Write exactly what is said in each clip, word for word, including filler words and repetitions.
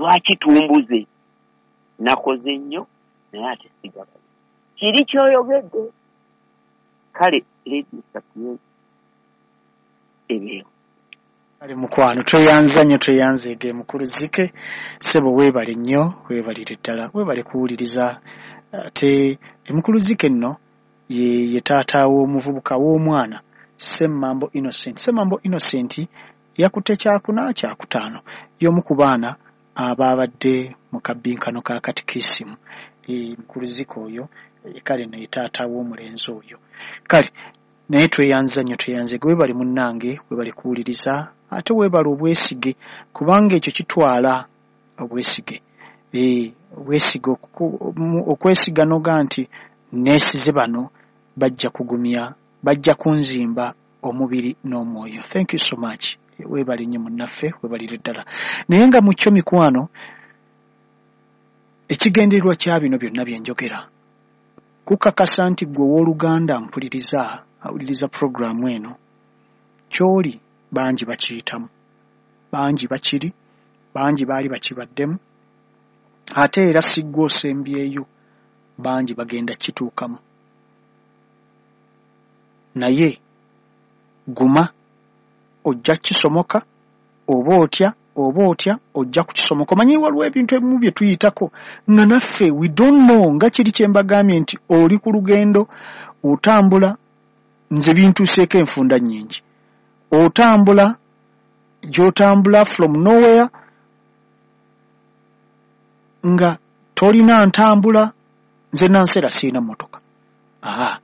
Lwaki tumbuze? Nakoze nnyo naye ate sigabanye. Kiri ky'oyogedde. Kale Radio Sapientia ebeewo. Kale mukwano, tweyanza nnyo, tweyanzeege mukulu Zike. Ssebo weebale nnyo, weebalire ddala, weebale kuwuliriza. Ate mukulu Zike nno ye, ye taata w'omuvubuka w'omwana Semmambo Innocent. Semmambo Innocent yakutte kyakuna kyakutaano, y'omu ku baana abaabadde mu kabbinkano ka katikisimu. E, mukulu Zike oyo e, kale naye taata w'omulenzi oyo. Kale naye tweyanza nnyo, tweyanzeege, weebale munnange, weebale kuwuliriza, ate weebale obwesige, kubanga ekyo kitwala obwesige. E, obwesige okwesiga noga nti neesize bano bajja kugumya, bajja kunzimba omubiri n'omwoyo. Thank you so much. Weebale nnyo munnaffe, weebalire ddala. Naye nga mu kyo mikwano, ekigendererwa kya bino byonna bye njogera kukakasa nti ggwe owooluganda mpuliriza, awuliriza puroguraamu eno, ky'oli bangi bakiyitamu, bangi bakiri, bangi baali bakibaddemu, ate era si ggwe osembyeyo, bangi bagenda kituukamu. Naye guma, ojja kisomoka, oba otya oba otya ojja kukisomoka. Omanyi waliwo ebintu ebimu bye tuyitako nga naffe we don't know, nga kiri kye mbagambye nti oli ku lugendo otambula, nze bintuuseeko enfunda nnyingi, otambula gy'otambula from nowhere nga tolina ntambula. Nze nanseera sirina mmotoka, aa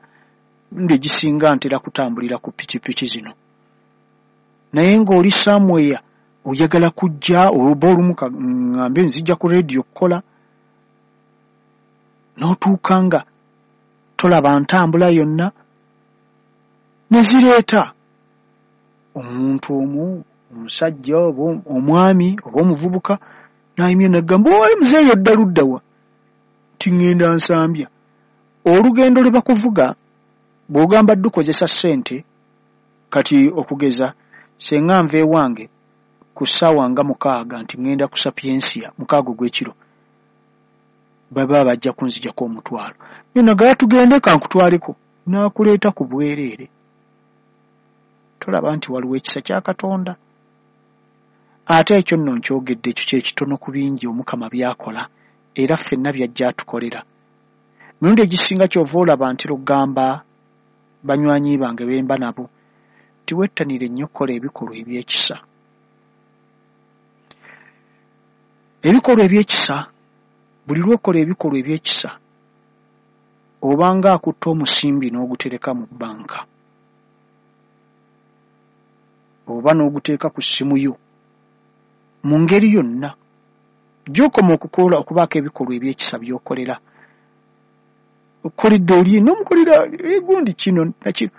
emirundi egisinga ntera kutambulira ku pikipiki zino, naye ng'oli somewhere oyagala kujja, oba olumu ŋŋambe nzijja ku rediyo okukola, n'otuuka nga tolaba ntambula yonna, ne zireeta omuntu omu, omusajja oba omwami oba omuvubuka, n'ayimya n'agamba, oye muzeeyi odda ludda wa? Nti ŋŋenda Nsambya. Olugendo lwe bakuvuga bw'ogamba ddukozesa ssente, kati okugeza senga nva ewange ku ssaawa nga mukaaga nti ŋŋenda ku Sapientia mukaaga ogw'ekiro, baba bajja kunzijako omutwalo. Nagala tugende kankutwaleko, n'akuleeta ku bwereere. Tolaba nti waliwo ekisa kya Katonda? Ate ekyo nno nkyogedde, ekyo kye kitono ku bingi Omukama by'akola, era ffenna by'ajja atukolera. Mirundi egisinga ky'ova olaba ntera okugamba banywanyi bange be mba nabo nti wettanire nnyo okukola ebikolwa eby'ekisa. Ebikolwa eby'ekisa, buli lw'okola ebikolwa eby'ekisa obanga akutta omusimbi n'ogutereka mu bbanka oba n'oguteeka ku ssimu yo mu ngeri yonna gy'okoma okukola okubaako ebikolwa eby'ekisa by'okolera. Okoledde oli n'omukolera egundi kino nakino,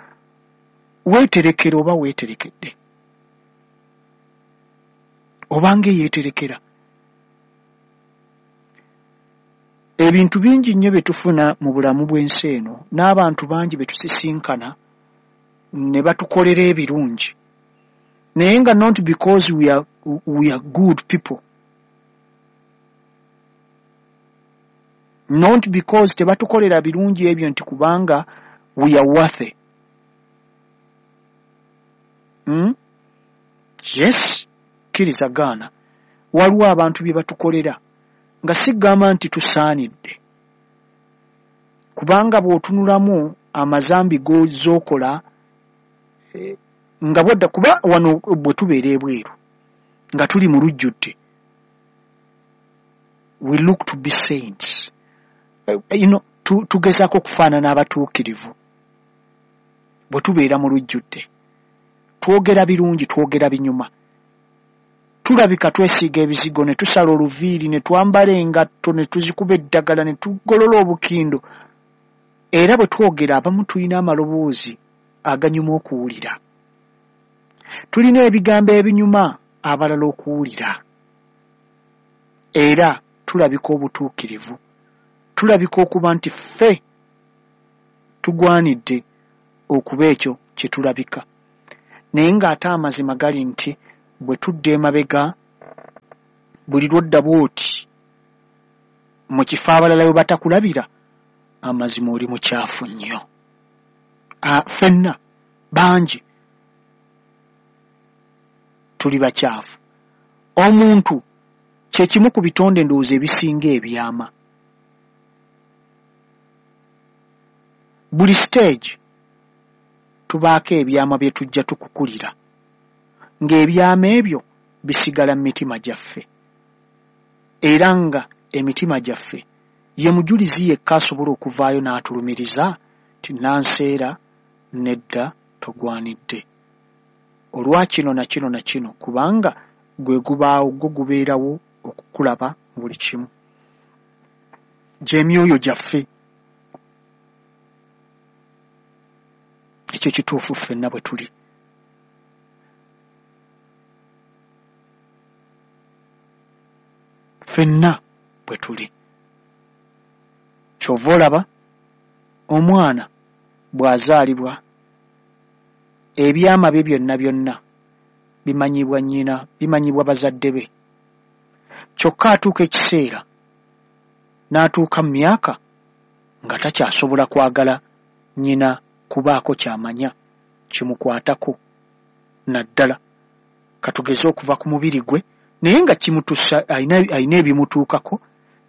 weeterekera oba weeterekedde, obanga eyeeterekera. Ebintu bingi nnyo bye tufuna mu bulamu bw'ensi eno, n'abantu bangi be tusisinkana ne batukolera ebirungi, naye nga not because we are, we are good people, not because tebatukolera birungi ebyo nti kubanga we are worthy. Hmm? Yes, kkiriza gaana, waliwo abantu bye batukolera nga sigamba nti tusaanidde, kubanga bw'otunulamu amazambi g'okola eh, nga bwodda, kuba wano bwe tubeera ebweru nga tuli mu lujjudde, we look to be saints, you know, tugezaako okufaanana abatuukirivu. Bwe tubeera mu lujjudde twogera birungi, twogera binyuma, tulabika twesiiga ebizigo, ne tusala oluviiri, ne twambala engatto, ne tuzikuba eddagala, ne tugolola obukindo, era bwe twogera abamu tulina amaloboozi aganyuma okuwulira, tulina ebigambo ebinyuma abalala okuwulira, era tulabika obutuukirivu, tulabika okuba nti ffe tugwanidde okuba ekyo kye tulabika. Naye ng'ate amazima gali nti bwe tudda emabega Buli lw'odda bw'oti mu kifo abalala we batakulabira, amazima oli mukyafu nnyo. Ffenna bangi tuli bakyafu. Omuntu kye kimu ku bitonde ndowooza ebisinga ebyama. Buli stage tubaako ebyama bye tujja tukukulira, ng'ebyama ebyo bisigala mu mitima gyaffe, era nga emitima gyaffe ye mujulizi yekka asobola okuvaayo n'atulumiriza nti nanseera nedda togwanidde olwa kino na kino na kino, kubanga gwe gubaawo gwo gubeerawo okukulaba mu buli kimu. Gy'emyoyo gyaffe. Ekyo kituufu ffenna bwe tuli. Ffenna bwe tuli. Ky'ova olaba omwana bw'azaalibwa ebyama bye byonna byonna bimanyibwa nnyina, bimanyibwa bazadde be. Kyokka atuuka ekiseera n'atuuka mu myaka nga takyasobola kwagala nnyina kubaako ky'amanya kimukwatako, naddala katugeze okuva ku mubiri gwe, naye nga kimutuusa alina ebimutuukako,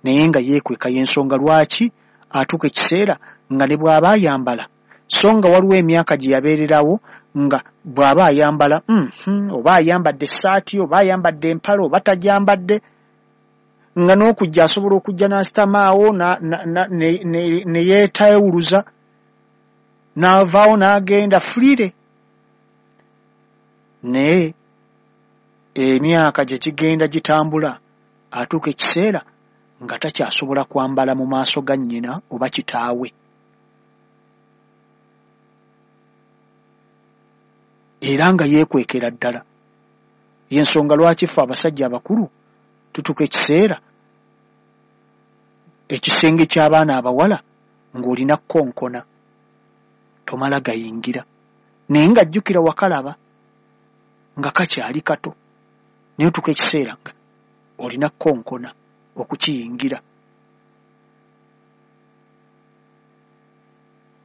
naye nga yeekweka. Y'ensonga lwaki atuuka ekiseera nga ne bw'aba ayambala, so nga waliwo emyaka gye yabeererawo nga bw'aba ayambala mm, oba ayambadde essaati oba ayambadde empale oba tagyambadde, nga n'okujja asobola okujja n'asitamaawo ne yeetewuluza n'avaawo n'agenda freely. Naye emyaka gye gigenda gitambula atuuka ekiseera nga takyasobola kwambala mu maaso ga nnyina oba kitaawe, era nga yeekwekera ddala. Y'ensonga lwaki ffe abasajja abakulu tutuuka ekiseera ekisenge ky'abaana abawala ng'olina kkonkona, tomala gayingira, naye nga jjukira wakalaba nga kakyali kato, naye otuuka ekiseera nga olina kkonkona okukiyingira.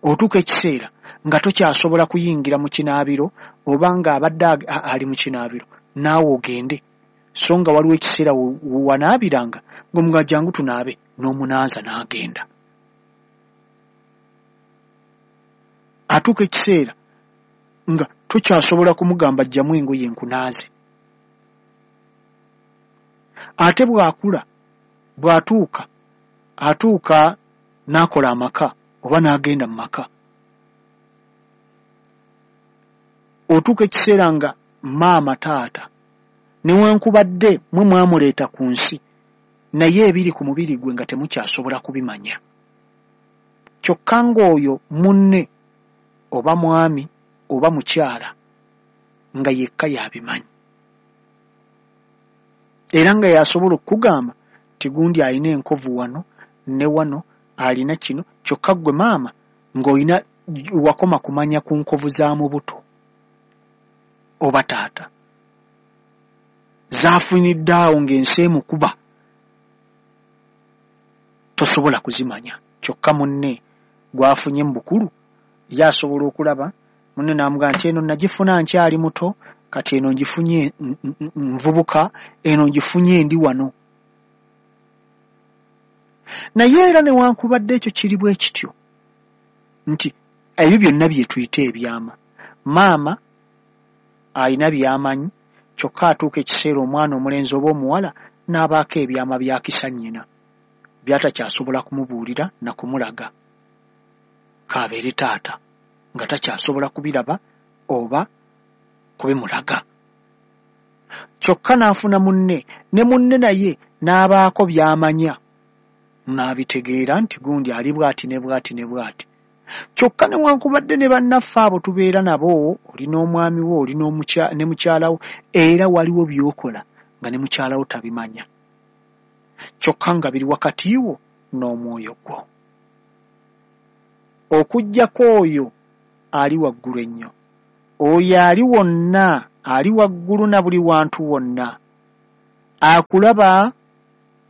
Otuuka ekiseera nga tokyasobola kuyingira mu kinaabiro, oba ng'abadde ali mu kinaabiro naawe ogende, so nga waliwo ekiseera wanaabiranga ng'omugamba jangu tunaabe, n'omunaaza n'agenda. Atuuka ekiseera nga tokyasobola kumugamba jjamu engoye nkunaaze. Ate bw'akula, bw'atuuka atuuka n'akola amaka oba n'agenda mu maka, otuuka ekiseera nga maama taata newankubadde mwe mwamuleeta ku nsi, naye ebiri ku mubiri gwe nga temukyasobola kubimanya. Kyokka ng'oyo munne oba mwami oba mukyala nga yekka y'abimanyi, era nga y'asobola okukugamba nti gundi alina enkovu wano ne wano, alina kino. Kyokka ggwe maama ng'olina wakoma kumanya ku nkovu za mu buto oba taata zaafunidde awo ng'ensi emukuba, tosobola kuzimanya. Kyokka munne gw'afunye mu bukulu ye asobola okulaba munne n'amugamba nti eno nagifuna nkyali muto, kati eno ngifunye nvubuka, eno ngifunye ndi wano. Naye era newankubadde ekyo kiri bwe kityo nti ebyo byonna bye tuyita ebyama, maama alina by'amanyi, kyokka atuuka ekiseera omwana omulenzi oba omuwala n'abaako ebyama by'akisa nnyina by'atakyasobola kumubuulira na kumulaga, k'abeere taata nga takyasobola kubiraba oba kubimulaga. Kyokka n'afuna munne, ne munne naye n'abaako by'amanya n'abitegeera nti gundi ali bw'ati ne bw'ati ne bw'ati. Kyokka newankubadde ne bannaffe abo tubeera nabo, oli n'omwami wo, oli ne mukyala wo, era waliwo by'okola nga ne mukyala wo tabimanya, kyokka nga biri wakati wo n'omwoyo gwo. Okuggyako oyo ali waggulu ennyo, oyo ali wonna, ali waggulu na buli wantu wonna, Akulaba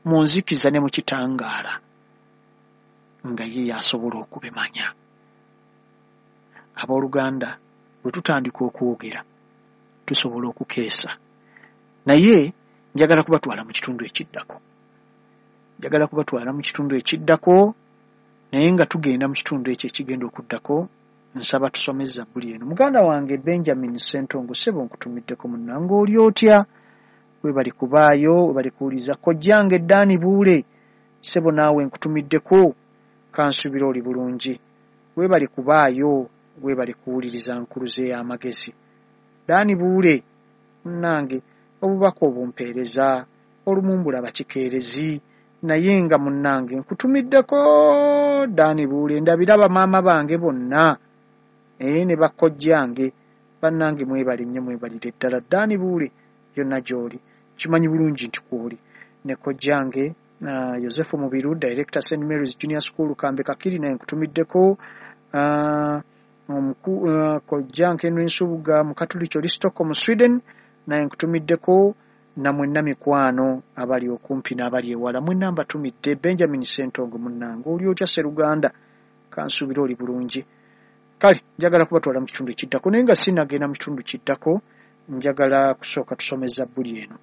mu nzikiza ne mu kitangaala, nga ye y'asobola okubimanya. Abooluganda, bwe tutandika okwogera tusobola okukeesa, naye njagala kubatwala mu kitundu ekiddako. Njagala kubatwala mu kitundu ekiddako, naye nga tugenda mu kitundu ekyo ekigenda okuddako, nsaba tusome zabbuli eno. Muganda wange Benjamin Ssentongo, ssebo nkutumiddeko munnange, oli otya? Webale kubaayo, webale kuwuliriza. Kojjange Ddaani Buule, ssebo naawe nkutumiddeko, kansuubira oli bulungi. Webale kubaayo, webale kuwuliriza nkuluze y'amagezi. Ddaani Buule munnange, obubaka obumpeereza olumu mbulaba kikeerezi, naye nga munnange nkutumiddeko Ddaani Buule, ndabira bamaama bange bonna ee ne bakojjange bannange, mwebale nnyo, mwebalire ddala. Ddaani Buule yonna gy'oli kimanyi bulungi nti kw'oli. Ne kojjange uh, Yosefu Mubiru, Director Saint Mary's Junior School Kambe Kakiri, naye nkutumiddeko. uh, uh, kojjange Henry Nsubuga Mukatuliki oli Stockholm Sweden, naye nkutumiddeko. Na mwenna mikwano abali okumpi n'abali ewala, mwenna mbatumidde. Benjamin Ssentongo munnange, oli otya Sseruganda? Kansuubira oli bulungi. Kale njagala kubatwala mu kitundu ekiddako, naye nga sinnagenda mu kitundu kiddako, njagala kusooka tusome zabbuli eno.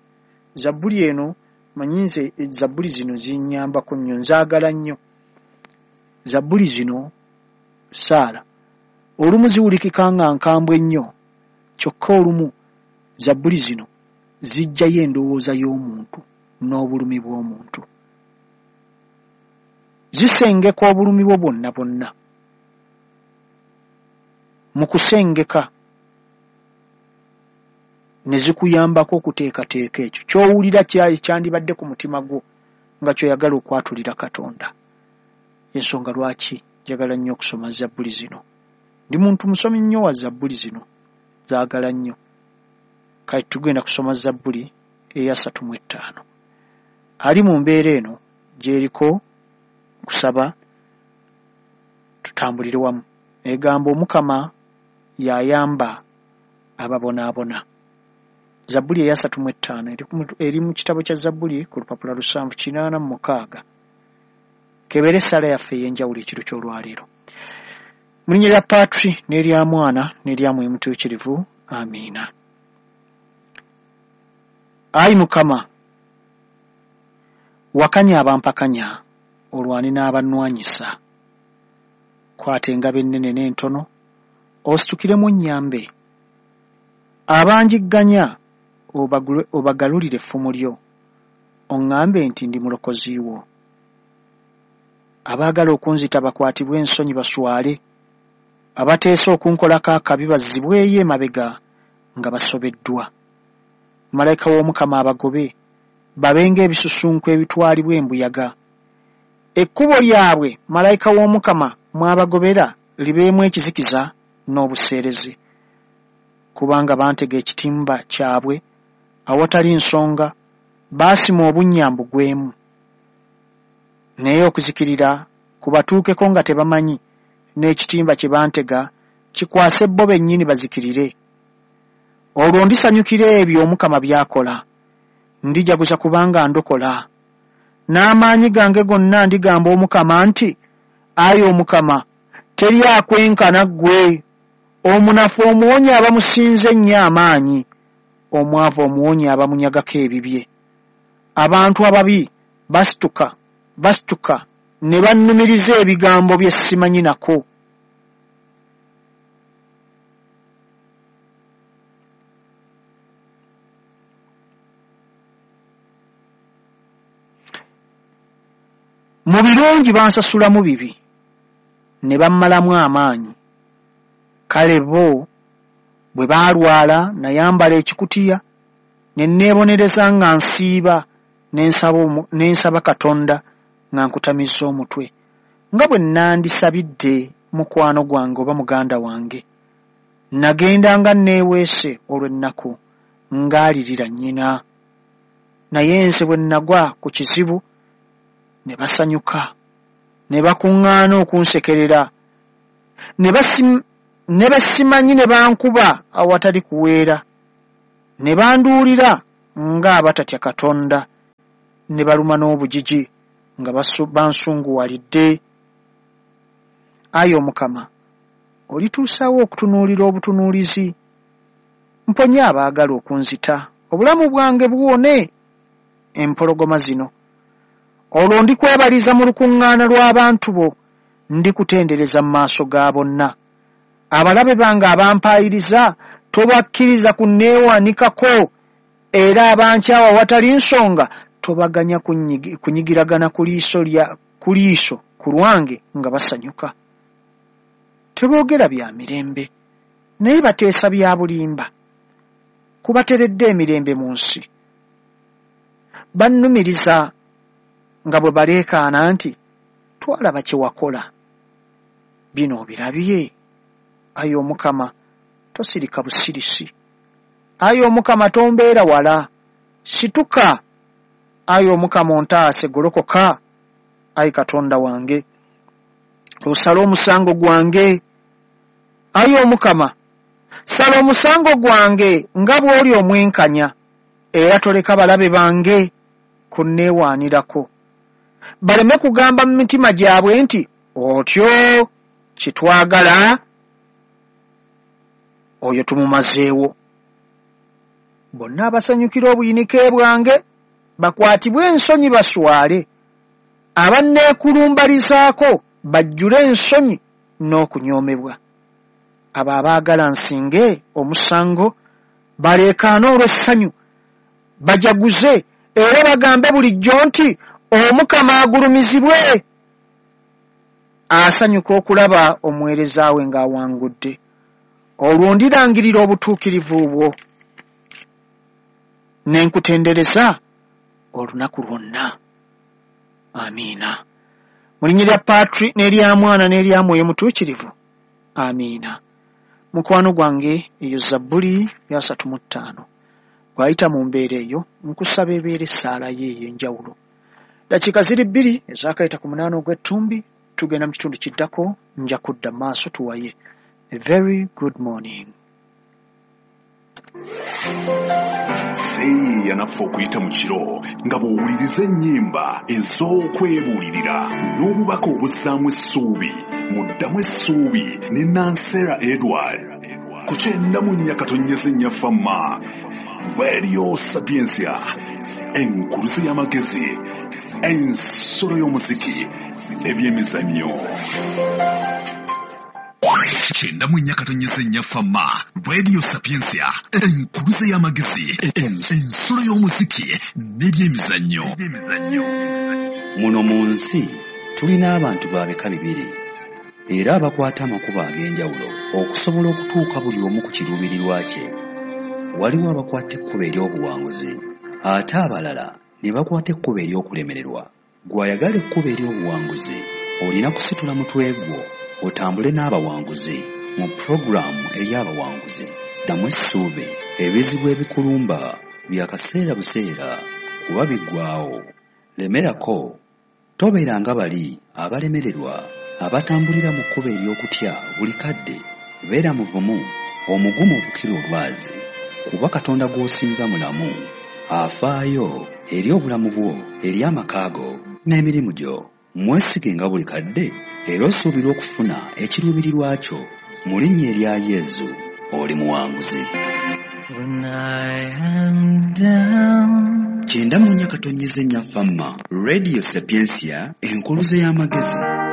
Zabbuli eno manyi nze zabbuli zino zinnyambako nnyo, nzaagala nnyo zabbuli zino. Saala olumu ziwulikika nga nkambwe nnyo, kyokka olumu zabbuli zino zijjayo endowooza y'omuntu n'obulumi bw'omuntu, zisengeka obulumi bwo bwonna bwonna. Mu kusengeka ne zikuyambako okuteekateeka ekyo ky'owulira kyandibadde ku mutima gwo nga ky'oyagala okwatulira Katonda. Ensonga lwaki njagala nnyo okusoma zabbuli zino. Ndi muntu musomi nnyo wa zabbuli zino, zaagala nnyo. Kale tugenda kusoma zabbuli eyasatu mu ettaano. Ali mu mbeera eno gy'eriko, nkusaba tutambulire wamu. Egamba, Omukama y'ayamba ababonaabona. Zabbuli eyasatu mu ettaano eri mu kitabo kya Zabbuli ku lupapula lusanvu kinaana mu mukaaga. Kebeera essaala yaffe ey'enjawulo ekiro ky'olwaleero. Mu linnya lya Patri n'erya Mwana n'erya Mwoyo Mutuukirivu, amiina. Ayi Mukama, wakanya abampakanya, olwane n'abannwanyisa. Kwata engabo ennene n'entono, ositukiremu onnyambe. Abanjigganya obagalulire effumu lyo, oŋŋambe nti ndi mulokozi wo. Abaagala okunzita bakwatibwe ensonyi baswale, abateesa okunkolako akabi bazzibweyo emabega nga basobeddwa. Malayika w'Omukama abagobe, babe ng'ebisusunku ebitwalibwa embuyaga. Ekkubo lyabwe malayika w'Omukama mw'abagobera libeemu ekizikiza n'obuseerezi. Kubanga bantega ekitimba kyabwe awatali nsonga, baasima obunnya mbugwemu. Naye okuzikirira kubatuukeko nga tebamanyi, n'ekitimba kye bantega kikwase bo bennyini bazikirire. Olwo ndisanyukira ebyo Omukama by'akola, ndijaguza kubanga ndokola. N'amaanyi gange gonna ndigamba Omukama nti, ayi Omukama, teri akwenkana ggwe. Omunafu omuwonya abamusinze ennyo amaanyi, omwavu omuwonya abamunyagako ebibye. Abantu ababi basituka basituka ne bannumiriza ebigambo bye simanyi nako. Mu birungi bansasulamu bibi, ne bammalamu amaanyi. Kale bo bwe baalwala nayambala ekikutiya, ne neebonereza nga nsiiba, ne nsaba Katonda nga nkutamizza omutwe, nga bwe nandisabidde mukwano gwange oba muganda wange. Nagenda nga neeweese olw'ennaku, ng'alirira nnyina. Naye nze bwe nagwa ku kizibu ne basanyuka, ne bakuŋŋaana okunsekerera, ne basimanyi ne bankuba awatali kuweera, ne banduulira ng'abatatya Katonda, ne baluma n'obugigi nga bansunguwalidde. Ayi Omukama, olituusaawo okutunuulira obutunuulizi, mponye abaagala okunzita, obulamu bwange buwone empologoma zino. Olwo ndikwebaliza mu lukuŋŋaana lw'abantu bo, ndikutendereza mu maaso ga bonna. Abalabe bange abampaayiriza tobakkiriza kunneewanikako, era abankyawa awatali nsonga tobaganya kunyigiragana ku liiso lya ku liiso ku lwange nga basanyuka. Teboogera bya mirembe, naye bateesa bya bulimba, kubateredde emirembe mu nsi. Bannumiriza nga bwe baleekaana nti, twalaba kye wakola, bino obirabye. Ayi Omukama, tosirika busirisi. Ayi Omukama, tombeera wala, situka. Ayi Omukama, ontaase, golokoka. Ayi Katonda wange, osale omusango gwange. Ayi Omukama, sala omusango gwange nga bw'oli omwenkanya, era toleka balabe bange kunneewaanirako. Baleme kugamba mu mitima gyabwe nti, otyo kye twagala oyo tumumazeewo. Bonna abasanyukira obuyinike bwange bakwatibwe ensonyi baswale, abanneekulumbalizaako bajjule ensonyi n'okunyoomebwa. Abo abaagala nsinge omusango baleekaane olw'essanyu, bajaguze era bagambe bulijjo nti, Omukama agulumizibwe. Asanyuka okulaba omuweereza we ng'awangudde. Olwo ndirangirira obutuukirivu bwo, ne nkutendereza olunaku lwonna. Amiina. Mu linnya lya Patri n'erya Mwana n'erya Mwoyo Mutuukirivu. Amiina. Mukwano gwange, eyo Zabbuli ya asatu mu ttaano. Bw'ayita mu mbeera eyo, nkusaba ebeera essaala ye ey'enjawulo. Dakiika ziri bbiri ezaakayita ku munaana ogw'ettumbi, tugenda mu kitundu kiddako, nja kudda mu maaso tuwaye. A very good morning. Seeyeeya naffe okuyita mu kiro nga bw'owuliriza ennyimba ez'okwebuulirira n'obubaka obuzzaamu essuubi. Muddamu essuubi ne Nansera Edward ku kyenda mu nnya katonnyeze nnya Fama Radio Sapientia, enkuluze y'amagezi, ensolo y'omuziki, ebyemizannyo. Kyenda mu nnya katonnyeze nnya Fama Radio Sapientia, enkuluze y'amagezi, ensolo y'omuziki n'ebyemizannyo. Muno mu nsi tulina abantu ba bika bibiri era abakwata amakubo ag'enjawulo okusobola okutuuka buli omu ku kiruubirirwa kye. Waliwo abakwata ekkubo ery'obuwanguzi ate abalala ne bakwata ekkubo ery'okulemererwa. Gw'ayagala ekkubo ery'obuwanguzi olina kusitula mutwe gwo otambule n'abawanguzi mu pulogulaamu ey'abawanguzi. Ddamu essuubi, ebizibu ebikulumba bya kaseera buseera kuba biggwaawo. Lemerako, tobeera nga bali abalemererwa abatambulira mu kkubo ery'okutya buli kadde. Beera muvumu, omugumu okukira olwazi, kuba Katonda gw'osinza mulamu, afaayo eri obulamu bwo, eri amaka go n'emirimu gyo. Mwesige nga buli kadde era osuubirwa okufuna ekiruubirirwa kyo. Mu linnya erya Yezu oli muwanguzi. When I am down. Kyenda mu nnya katonnyeze nnya Fama Radio Sapientia, enkuluze y'amagezi.